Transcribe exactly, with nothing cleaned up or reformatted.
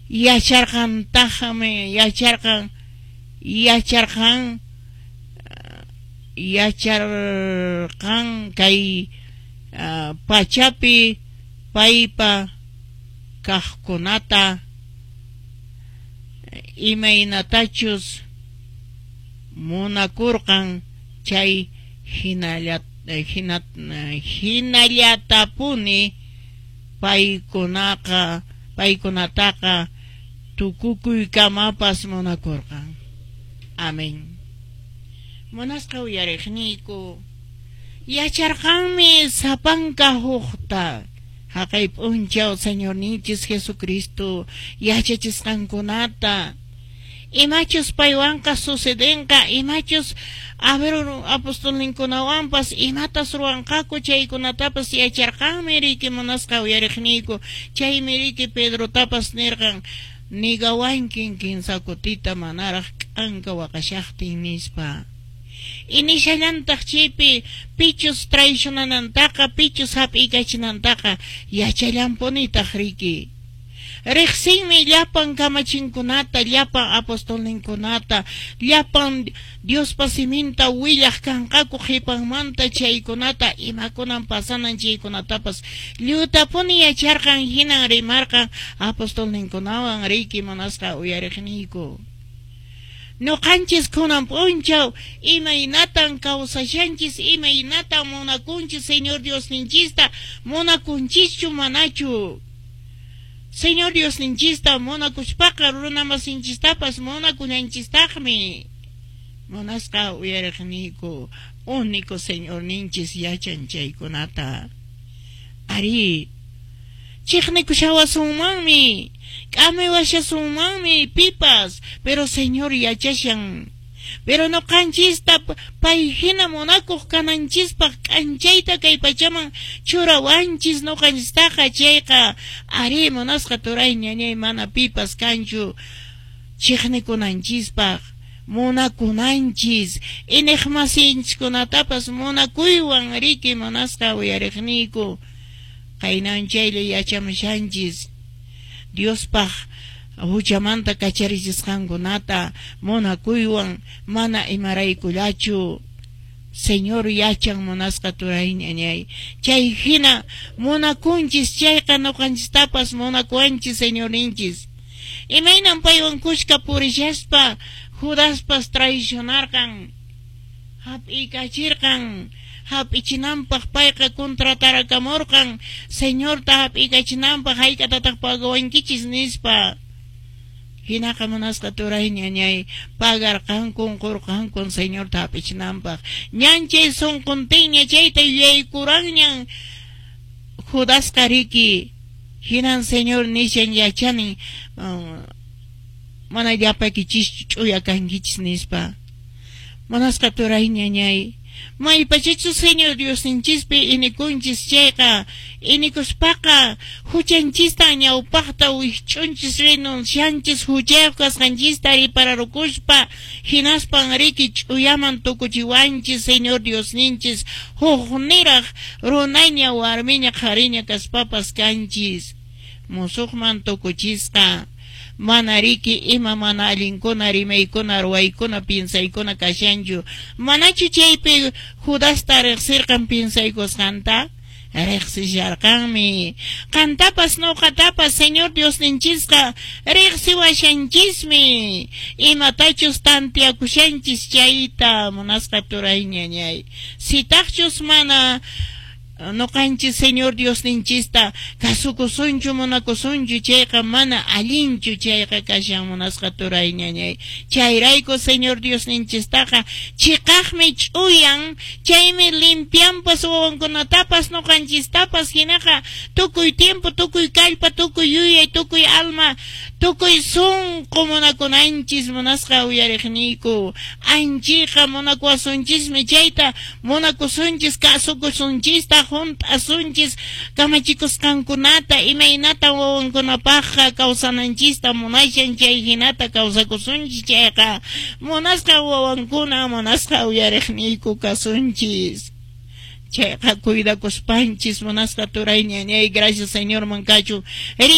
Yacharqantaqmi, yacharqan, yacharqan, yacharqan kay uh, pachapi paypa kaqkunata imaynatachus munakurqan chay hinalla hina hinallatapuni paykunaqa paykunataqa tukukuykamapas munakurqan. Amén. Munasqa uyariqniyku, yacharqanmi sapanka hukta haqay p'unchaw Señorninchis Jesucristo yachachisqankunata, imachus paywanqa sucedenqa, imachus a ver apostolninkunawanpas imatas ruwanqaku chaykunatapas yacharqanmi riki munasqa uyariqniyku. Chaymi riki Pedrotapas nirqan, nigawankin kinsa kutita manaraq k'anka waqashaqtin nispa. Inishallantaq chaypi pichus traicionanantaqa, pichus hap'iykachinantaqa yachallanpunitaq riki. Riqsinmi llapan kamachinkunata, llapan apostolninkunata, llapan Diospa siminta willaq kanqaku qhipanmanta chaykunata, imakunan pasanan chaykunatapas lliwtapuni yacharqan, hinan rimarqan apostolninkunawan riki munasqa uyariqniyku. Ñuqanchis kunan p'unchaw imaynatan kawsashanchis, imaynatan munakunchis Señor Diosninchista, munakunchischu manachu? Señor Diosninchista munakuspaqa runamasinchistapas munakunanchistaqmi. Munasqa uyariqniyku, único Señorninchis yachan chaykunata. Ari, chiqnikushawasunmanmi, k'amiwashasunmanmi pipas, pero Señor yachashan. Pero ñuqanchista pay hina munakuq kananchispaq k'anchayta kay pachaman churawanchis ñuqanchistaqa chayqa ari munasqa turay ñañay mana pipas kanchu chiqnikunanchispaq, munakunanchis, iñiqmasinchikkunatapas munakuywan riki munasqa uyariqniyku. Qaynan chaylla yachamushanchis Diospaq huchamanta kacharichisqankunata munakuywan mana imaraykullachu. Señor yachan munasqa turay ñañay. Chay hina munakunchis chayqa ñuqanchistapas munakuwanchis Señorninchis. Imaynan paywan kushka purishaspa Judaspas traicionarqan, hap'iykachirqan, hap'ichinanpaq payqa contratarakamurqan Señorta hap'iykachinanpaq hayk'atataq pagawankichis nispa. Hinaqa munasqa turay ñañay pagarqankun qurqankun Señorta hap'ichinanpaq. Ñan chay sunquntinña chayta yuyaykuranñan Judasqa riki. Hinan Señor nishan yachani um, mana llapaykichis ch'uya kankichis nispa. Munasqa turay ñañay, maypachachu Señor Diosninchispi inikunchis chayqa, inikuspaqa huchanchista ñawpaqta wikch'unchis renuncianchis huchayuq kasqanchista ripararukuspa, hinaspan riki ch'uyaman tukuchiwanchis Señor Diosninchis, hukniraq runaña warmiña qhariña kaspapas kanchis, musuqman tukuchisqa. Mana riki ima mana allinkuna rimaykuna ruwaykuna piensaykuna kashanchu. Manachu chaypi Judasta riqsirqan piensaykusqanta? Riqsisharqanmi. Qantapas ñuqatapas Señor Diosninchisqa riqsiwashanchismi. Imatachus tantiakushanchis chayta munasqa turay ñañay. Sitaqchus mana ñuqanchis Señor Diosninchista kasukusunchu munakusunchu chayqa mana allinchu chayqa kashan munasqa turay ñañay. Chayrayku Señor Diosninchistaqa chiqaqmi ch'uyan, chaymi limpianpas wawankunatapas ñuqanchistapas hinaqa tukuy tiempo, tukuy kallpa, tukuy yuyay, tukuy alma, tukuy sunqu munakunanchis munasqa uyariqniyku. Anchiqa munakuwasunchismi chayta munakusunchis kasukusunchista hunt'asunchis kamachikusqankunata imaynata wawankunapaqqa kawsananchista munashan chay hinata kawsakusunchis chayqa munasqa wawankuna munasqa uyariqniyku kasunchis. Chayqa cuidakuspanchis munasqa turay ñañay, gracias Señor mankachu.